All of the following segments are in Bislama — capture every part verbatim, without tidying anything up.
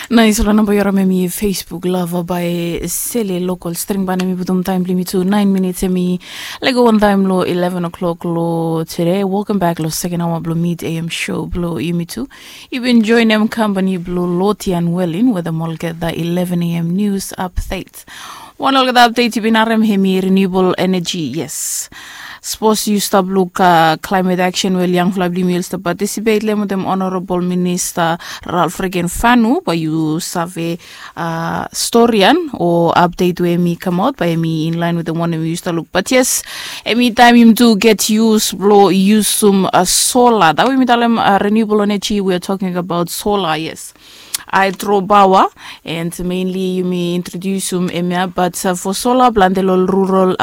Nais long namba yu harim em i Facebook lava bae sele lokol string ban em i putum taem blong yumi tu naen minits em i lego wantaem long eleven o'clock long tede. Welkam bek long seken aoa blong mid am show blong yumi tu. Yu bin joenem kampani blong Lotian Welin wetem olgeta eleven am nius apdet. Wan olgeta apdet yu bin harem hem i renewabol eneji. Yes, sapos yu stap luk klaemet aksen we ol yangfala blong yumi ol stap patisipet long hem wetem onorabol minista Ralf Regen Fanu, bae yu save storian o apdet we hem i kamaot bae hem i inlaen wetem wanem yu stap luk. Bat yes, hem i taem yumi tu get yus blong yusum sola dat we yumi talem renewabol eneji we are talking abaot sola. Yes, aedro paoa. And menli yumi introdiusim hemia bat fo sola plante long rural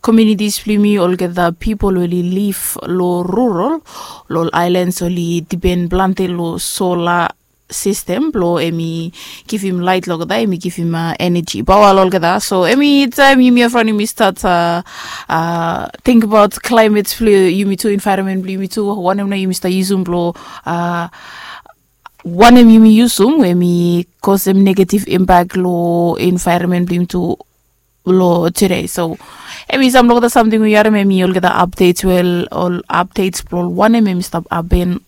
komunitis blong yumi olgeta pipol we oli liv long rural, long aelans oli dipen plante long sola sistem blong hem i givim laet long olgeta, hem i givim eneji paoa long olgeta. So hem i taem yumi evriwan yumi stat tingbaot klaemet blong yumi tu, envaeronmen blong yumi tu, wanem nao yumi stap yusum blong wanem yumi yusum we hem i kosem negativ impak long envaeronmen blong yumi tu long tede. So hem i sam long olgeta samting we yu harim hem i olgeta apdets we ol apdets blong wanem hem i stap hapen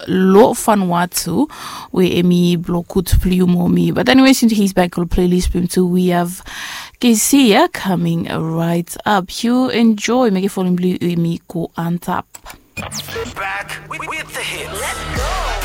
long Vanuatu we hem i blong gud blong yu mo mi. Bat eniwe, since he's back long playlist blong yumi tu, we have Kesia coming right up. Yu enjoy, mekem volim blong yu hem i go antap. Back with the hits.